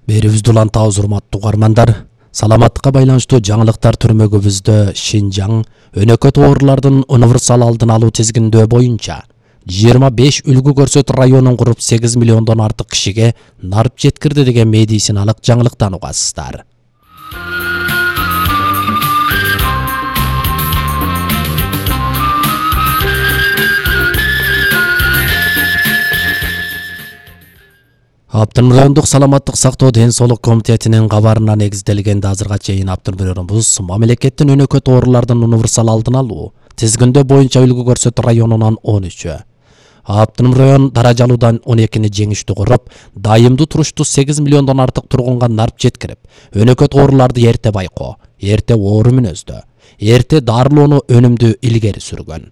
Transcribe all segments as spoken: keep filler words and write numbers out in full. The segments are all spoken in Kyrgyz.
Берибизди улантабыз, урматтуу угармандар. Саламаттыкка байланыштуу жаңылыктар түрмөгүбүздө Шинжаң өнөкөт оорулардын универсал алдын алуу тизгиндөө боюнча жыйырма беш үлгү көрсөт районун куруп сегиз миллиондон артык кишиге нарып жеткирди деген медициналык жаңылыктан угасыздар. Аптын райондук саламаттык сактоо ден соолук комитетинин кабарына негизделгенде азырга чейин Аптын районубуз мамлекеттин өнөкөт оорулардын универсал алдын алуу тизгиндөө боюнча үлгү көрсөт районунан он үчү. Аптын район даражалуудан он экини жеңиштүү куруп, дайымдуу туруштуу сегиз миллиондон артык тургунга нарып жеткирип, өнөкөт ооруларды эрте байкоо, эрте оору мүнөздө, эрте дарылоону өнүмдүү илгери сүргөн.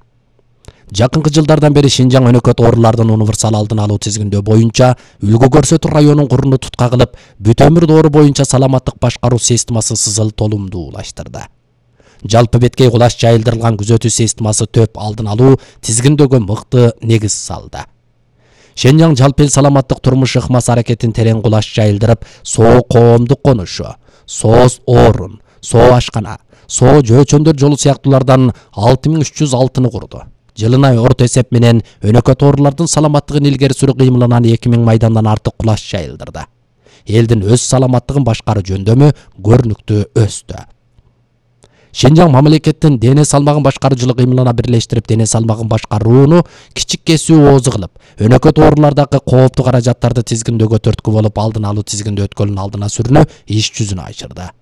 Жакынкы жылдардан бери Шинжаң өнөкөт оорулардын универсал алдын алуу тизгиндөө боюнча үлгү көрсөтүү районун куруну тутка кылып, бүт өмүр доору боюнча саламаттык башкаруу системасын сызыл толумдуулаштырды. Жалпы беткей кулаш жайылдырылган күзөтүү системасы төп алдын алуу тизгиндөөгө мыкты негиз салды. Шинжаң жалпы эл саламаттык турмуш ыкмасы аракетин терең кулаш жайылдырып, соо коомдук конушу, сооз орун, соо ашкана, соо жөөчөндөр жолу сыяктуулардан алты миң үч жүз алтыны курду. Жылына орто эсеп менен өнөкөт оорулардын саламаттыгын илгери сүрүү кыймылынан эки миң майдандан артык кулаш жайылдырды. Элдин өз саламаттыгын башкаруу жөндөмү көрүнүктүү өстү. Шинжаң мамлекеттин дене салмагын башкаруу жылы кыймылына бирлештирип, дене салмагын башкарууну кичик кесүү оозу кылып, өнөкөт оорулардагы кооптуу каражаттарды тизгиндөөгө түрткү болуп, алдын алуу тизгиндөө өткөлүнүн алдына сүрүүнү иш жүзүнө ачырды.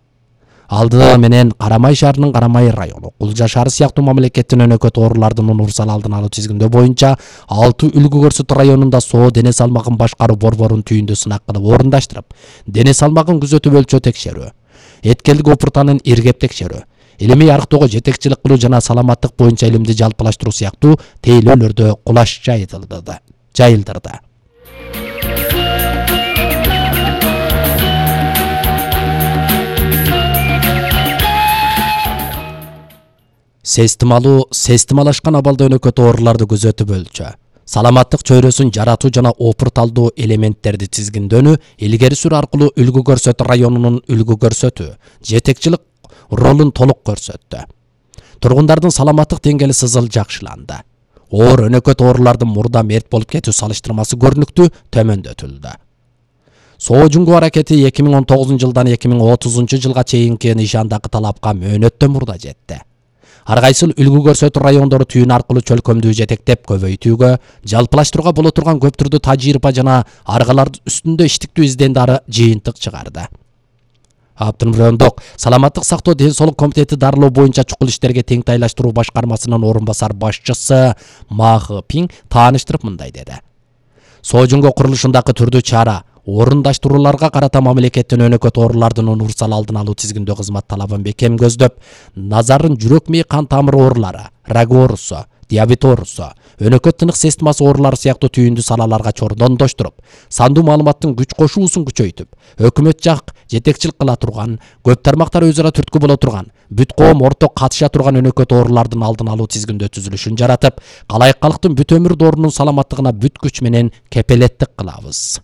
Алды менен Карамай шаарынын Карамай району, Кулжа шаары сыяктуу мамлекеттин өнөкөт оорулардын универсал алдын алуу тизгиндөө боюнча алты үлгү көрсөтүү районунда соо дене салмагын башкаруу борборун түйүндө сынак кылып орундаштырып, дене салмагын күзөтүп өлчөө текшерүү, эткелдик опуртанын иргеп текшерүү, илимий арыктоого жетекчилик кылуу жана саламаттык боюнча илимди жалпылаштыруу сыяктуу тейлөөлөрдө кулаш жайылдырды. жайылдырды. Системалуу, системалашкан абалда өнөкөт ооруларды күзөтүп өлчө, саламаттык чөйрөсүн жаратуу жана опурталдуу элементтерди тизгиндөөнү илгери сүрүү аркылуу үлгү көрсөтүү районунун үлгү көрсөтүү, жетекчилик ролун толук көрсөттү. Тургундардын саламаттык деңгээли сызыл жакшыланды. Оор өнөкөт оорулардын мурда мерт болуп кетүү салыштырмасы көрүнүктүү төмөндөтүлдү. Соо жуңгуу аракети эки миң он тогузунчу жылдан эки миң отузунчу жылга чейинки нишандагы талапка мөөнөттөн мурда жетти. Ар кайсыл үлгү көрсөтүү райондору түйүн аркылуу чөлкөмдүү жетектеп көбөйтүүгө, жалпылаштырууга боло турган көп түрдүү тажрыйба жана аргалар үстүндө иштиктүү издендары жыйынтык чыгарды. Аптын райондук саламаттык сактоо ден соолук комитети дарылоо боюнча чукул иштерге теңтайлаштыруу башкармасынын орун басар башчысы Махы Пиң тааныштырып мындай деди. Соо жуңгуу курулушундагы түрдүү чара орундаштырууларга карата мамлекеттин өнөкөт оорулардын универсал алдын алуу тизгиндөө кызмат талабын бекем көздөп, назарын жүрөк мээ кан тамыр оорулары, рак оорусу, диабет оорусу, өнөкөт тынык системасы оорулары сыяктуу түйүндүү салаларга чордондоштуруп, сандуу маалыматтын күч кошуусун күчөйтүп, өкмөт жак жетекчилик кыла турган, көп тармактар өз ара түрткү боло турган, бүт коом орток катыша турган өнөкөт оорулардын алдын алуу тизгиндөө түзүлүшүн жаратып, калайык калктын бүт өмүр доорунун саламаттыгына бүт күч менен кепелеттик кылабыз.